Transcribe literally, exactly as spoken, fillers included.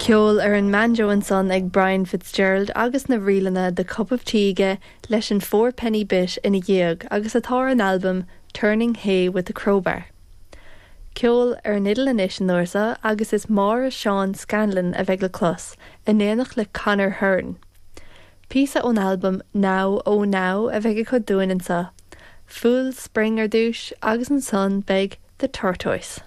Ceol ar an mbanjo ansan ag Brian Fitzgerald agus na ríleanna The Cup of Tea aige leis an Four Penny Bit ina dhiaidh agus atá ar an albam Turning Hay with the Crowbar. Ceol ar an fhidil anois an uair seo agus is Máire Seán Scanlon a bheidh le clos, in éineacht le Conor Hearn. Píosa ón albam Now Oh Now a bheidh acu dúinn anseo. Fool's Spring ar dtús agus ansan beidh The Tortoise.